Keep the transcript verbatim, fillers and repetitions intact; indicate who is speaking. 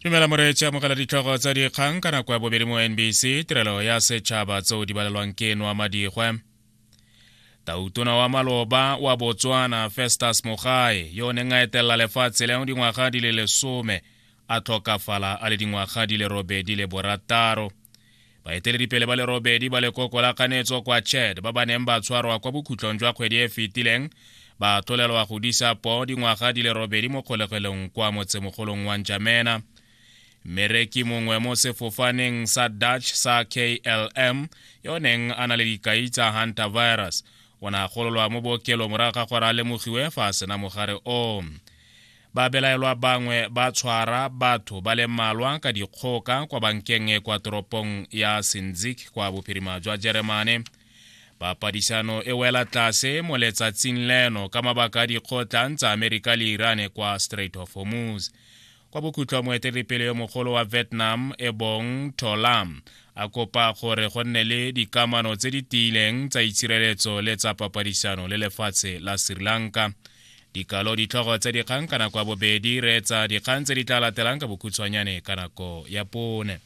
Speaker 1: Dumela moreetsi, amogela ditlhogo tsa dikgang ka nako ya bobedi mo N B C, tirelo ya setšhaba, tseo di balelwang ke Noa Madigwe. Tautona wa maloba wa Botswana Festus Mogae, yo o neng a etelela lefatshe leo dingwaga di le lesome, a tlhokafala a le dingwaga di le robedi le borataro. Baeteledipele ba le robedi ba lekoko la kganetso kwa Chad ba ba neng ba tshwarwa kwa bokhutlong jwa kgwedi e fetileng ba tlolelwa go disa poo dingwaga di le robedi mo kgolegelong kwa motsemogolong wa Njamena. Mmereki mongwe mo sefofaneng sa Dutch sa K L M yo neng a na le dikai tsa hantavirus o ne a gololwa mo bookelong morago ga gore a lemogiwe fa a sena mogare o. Babelaelwa bangwe ba tshwara batho ba le mmalwa ka dikgoka kwa bankeng e kwa toropong ya Sinzig kwa bophirima jwa Jeremane. Papadisano e wela tlase mo letsatsing leno ka mabaka a dikgotlang tsa Amerika le Iran kwa Strait of Hormuz. Kwa bokhutlho, moeteledipele yo mogolo wa Vietnam e bong To Lam a kopa gore go nne le dikamano tse di tiileng tsa itshireletso le tsa papadisano le lefatshe la Sri Lanka. Dikalo ditlhogo tse dikgang ka nako ya bobedi. Reetsa dikgang tse di tla latelang ka bokhutshwanyane ka nako ya pone.